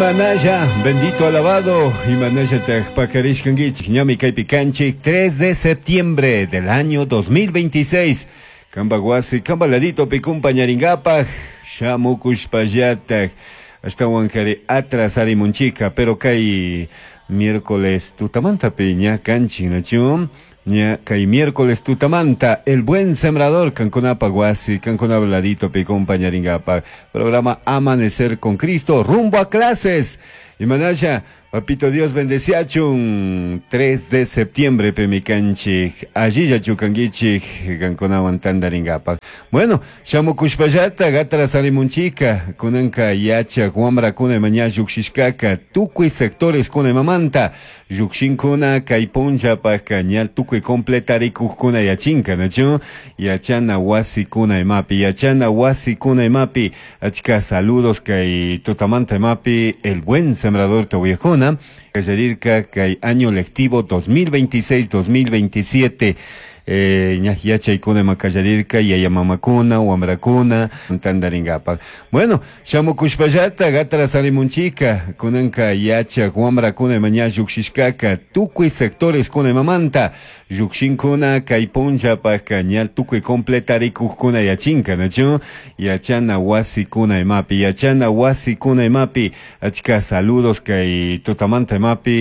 Imanalla, bendito alabado, imanalla paqarishkanguichik, ñami kaypi kanchik, 3 de septiembre del año 2026. Kamba wasi, kamba ladito acompañaringapaj, shamukushpallatak, ashtawankari atrasarimunchika, pero kay miércoles tutamanta ña kanchik, nachu? Ña kay miércoles tutamanta, el buen sembrador, kankunapa wasi, kankunapa ladito acompañaringapaj. Programa Amanecer con Cristo, rumbo a clases. Imanalla, Papito Dios bendeciachun, 3 de septiembre pimi kanchik, allilla chukanguichik, kankunawan tandaringapaj. Bueno, shamukushpallata, atrasarimunchika, kunanka yachak, wamrakuna maña llukshishkaka, tukuy sectores kuna imamanta, llukshinkuna kay punllapajka ña tukuy completarikujkuna yachinka, nachu? Yachana wasikuna imapi, yachana wasikuna imapi, achka saludos kay tutamanta imapi, el buen sembrador tawiyajuna, kallarirka kay año lectivo 2026-2027, ña yachaykuna ima kallarirka, yaya mamakuna, wamrakuna, tandaringapaj. Bueno, shamukushpallata, atrasarimunchika, kunanka yachak, wamrakuna ima ña llukshishkaka, tukuy sectores kuna imamanta, llukshinkuna kay punllapajka ña tukuy completarikujkuna yachinka, nachu? Yachana wasikuna imapi, yachana wasikuna imapi, achka saludos kay tutamanta imapi.